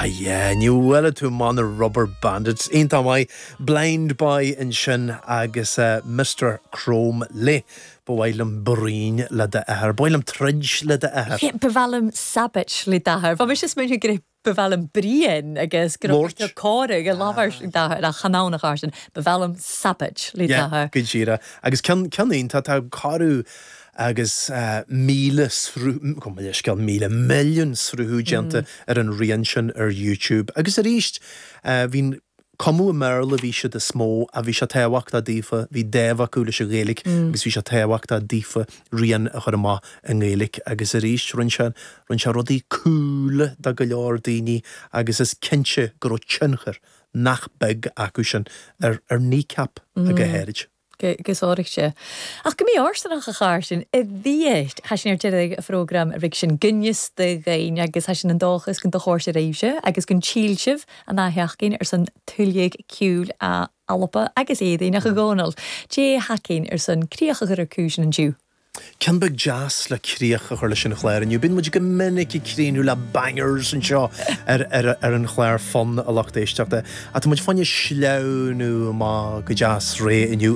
Ah yeah, ní bhuailfidh tú amach na Rubber Bandits. Iontach maith. Blind Boy ansin agus Mister Chrome Leigh. Ba mhaith liom bruíon le d'athair. Ba mhaith liom troid le d'athair. Yeah, ba mhaith liom sabait le d'athair. Bha mise ag smaoineamh gur ba mhaith liom bruíon agus go raibh tú cóir ag labhairt d'athair ach chan ann a char sin. Ba mhaith liom sabait le Yeah, d'athair. go díreach. Agus ceann, ceann iontach, tá corradh agus 1,000 sruth, gabh mo leithscéal, 1,000, milliún sruthú déanta ar an rian sin ar YouTube. Agus arís, bhí, cumadh i mBéarla a bhí siad is mó ach bhí sé tábhachtach daofa, bhí dáimh acu leis an Ghaeilge agus bhí sé tábhachtach daofa rian a chur amach i nGaeilge agus arís rinne sé, rinne sé rudaí cool do go leor daoine agus is cinnte go raibh tionchar nach beag acu sin ar ar Kneecap go háirid. Go sároichte. Ach go mí-fhóirsteanach a Chàrsainn, a bhí Tha sinn air deireadh a' phrógram a rig sinn gonneas do dhaoine agus tha sinn an dòchas gun do chòrsa raibhse agus gun tsíl sibh an dà sheachdain air son tuilleadh ceoil a Alba agus Éadaoin ach a Dhòmhnaill, Dè thacainn air son crioch a chur air cùisean an-diu. Ceann beag deas le críoch a chur leis an chlár inniu. Bíonn muid go minic ag críochnú le bangers anseo ar ar an chlár Fonn a lucht éisteachta. Ach tá muid fá choinne sleamhnú amach go deas réidh inniu.